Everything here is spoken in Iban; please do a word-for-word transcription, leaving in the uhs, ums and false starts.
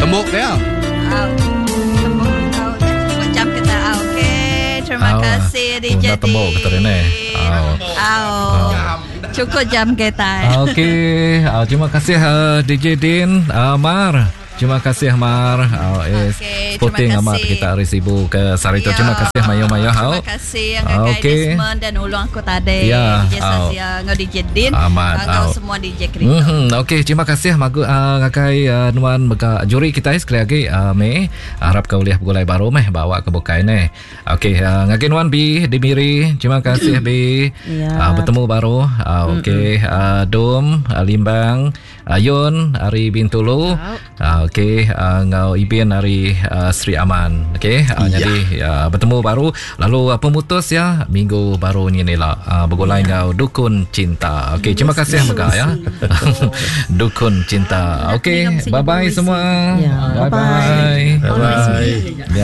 Tembuk ya. Au. Tembuk au. Cukup jam kita. Okey, terima Au. kasih D J Dah tembuk kita ni. Au. Au. Cukup jam kita. Okey, uh, terima kasih uh, D J Din, uh, Mar. Terima kasih Mar. Uh, eh, Okey, sporting terima amat kasih. kita hari Sibu ke Sarito. Ya. Terima kasih mayo-mayo. Terima kasih yang ngagai Okey. Desmond dan ulung aku tadi. Ya, D J au. Sazia, ngau D J Din, Amat, ngau au. semua D J Krito. Mm-hmm. Okey, terima kasih magu uh, ngagai uh, nuan mega juri kita sekali lagi uh, Mei. Harap kau boleh bergulai baru meh bawa ke bukai ne. Okey, uh, ngagai nuan B di Miri. Terima kasih B. Ya. Uh, bertemu baru. Uh, okey, uh, Dom, uh, Limbang, Ayun ari Bintulu. Uh, okey, uh, ngau Ibin ari uh, Sri Aman. Okey, uh, Ya. jadi uh, bertemu baru lalu uh, pemutus ya minggu baru ni ni lah uh, bergulai yeah. ngau Dukun Cinta. Okey, terima kasih mega ya. Dukun Cinta. Okey, bye bye semua. Ya, Bye bye. Bye bye. Ya.